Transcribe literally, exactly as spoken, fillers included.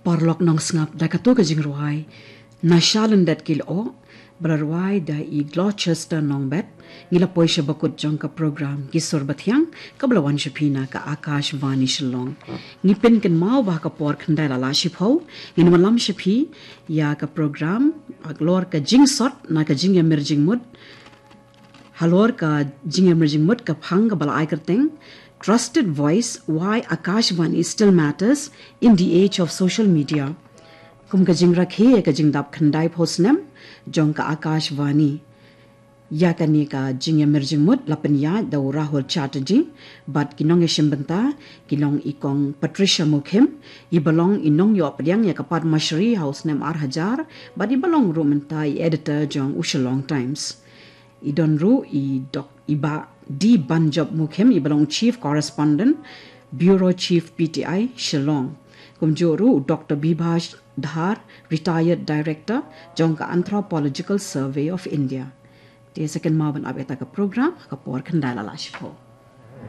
Paralok nongsngap, da kato ka jingrwai Nasha Lyndet Ki Lyoh, ba la rwai da i Gloucester Nongbet, ngi la poi sha bakut jong ka program Ki Sur Bathiang, kaba la wan sha phi na ka Akashvani Shillong. Ngi pynkynmaw ba ha ka por khyndai la la shiphew, ngin ym lam sha phi ïa ka program halor ka jingsot na ka jingïamir jingmut, halor ka jingïamir jingmut ka phang kaba la ai kyrteng Trusted Voice, Why Akashvani Still Matters in the Age of Social Media. Kum ka jingrakhe ïa ka jingdap khyndaiphew snem jong ka Akashvani, ïa kane ka jingïamir jingmut la pynïaid da u Rahul Chatterjee bad ki nongïashim bynta ki long i Kong Patricia Mukhim, iba long i nongïoh pdiang ïa ka Padma Shri ha u snem ar hajar, bad iba long ruh mynta i editor jong u Shillong Times. I don ruh i Dok i Bah D Banjop Mukhim, iba long Chief Correspondent, Bureau Chief P T I, Shillong. Kumjuh ruh u Doctor Bibhash Dhar, Retired Director jong ka Anthropological Survey of India. Te sa kynmaw ban ap ïa kata ka program ha ka por khyndai la la shiphew.